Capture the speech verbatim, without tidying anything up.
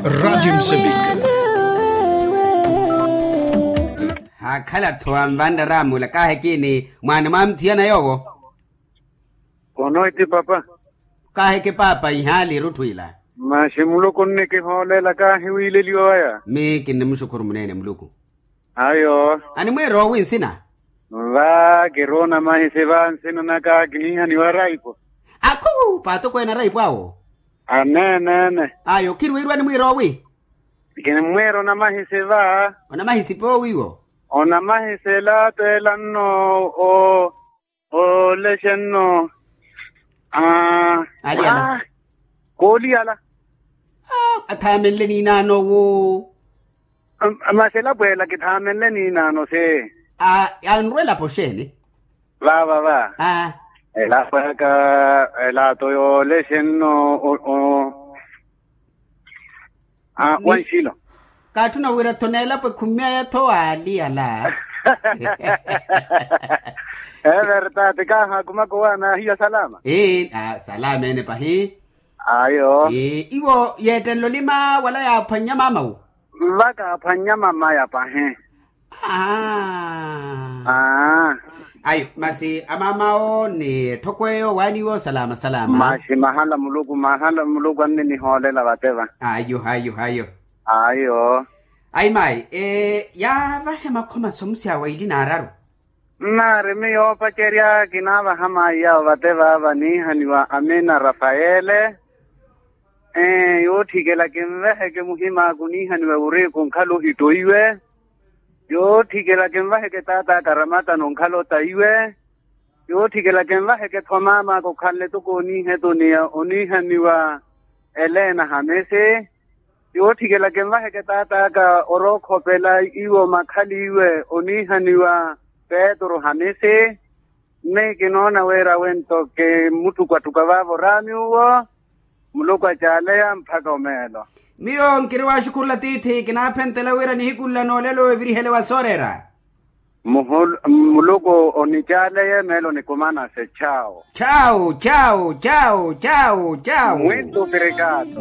Radiyo msevika. Haakhala-tho anvanraraamula kaahekini mwaani mwa mthiyana yoowo. Konoiti papa. Kaaheke paapa ihaali erutthu ila. Maxi muluku nnikihoolela kaahiwiileliwa waya. Mi kinnimuxukhuru muneene muluku. Ayo. Animwiira owi nsina? Va kiruuna mahisi va nsina naka kiniihaniwa raipo. Akhu paatokweene araipo awo. Aneene. Ayo khirwiirwa animwiira owi? Kinimwiira onamahisi va. Onamahisi poowiwo? Onamahisi ela teela nno. Olexe nno. Aliyala. Kooliyala. Athaamenle niinaanowo. Masi elapo ela kithaamenle niinaano se. Anrwa elapo xeeni? Vaava va. Elapo aka elato yoolexe nno. Wanxilo. Kaatthuna wira-tho n'elapo ekhumi aya-tho waaliyala. Evertati kaahaakumaka owaana ahiya salama. Salama ene pahi. Ayo. Iwo yeettenle olima wala yaaphwannya maamawu? Vakaaphwannya mamaya pahi. Ayo masi amaamaawo ni etthoko eyo waaniiwo salama salama. Masi mahala muluku mahala muluku anninihoolela vateva. Ayo ayo ayo. Ayo. Ayi mayi. Yaavahe makhoma somusi awo ili naararu. Nnaari miyo opacerya kinaavaha mayi yawo vateva vaniihaniwa amina rafaele. Yootthikela kinvaheke muhimaaku niihaniwe wuri kunkhala ohittoiwe. Yootthikela kinvaheke taat'aka ramatano onkhala otaiwe. Yootthikela kinvaheke-tho maam'aka okhanle toko oniihetuniya oniihaniwa. Elena hamisi. Yootthikela kinvaheke taat'aka orookhopela iwo makhaliwe oniihaniwa. Petru hamisi. Nni kinoona wira winto kimmutthukwatthuka vaavo oraami uwo. Muluku acaaleya mpakha omeelo. Miyo nkiri waaxukhurula tiithi kinaaphentela wira nihiku nla noolelo evirihele wa sooreera. Muluku onicaaleya emeelo nikumanase chawo. Chawo chawo chawo chawo chawo. Mwintu pirikaato.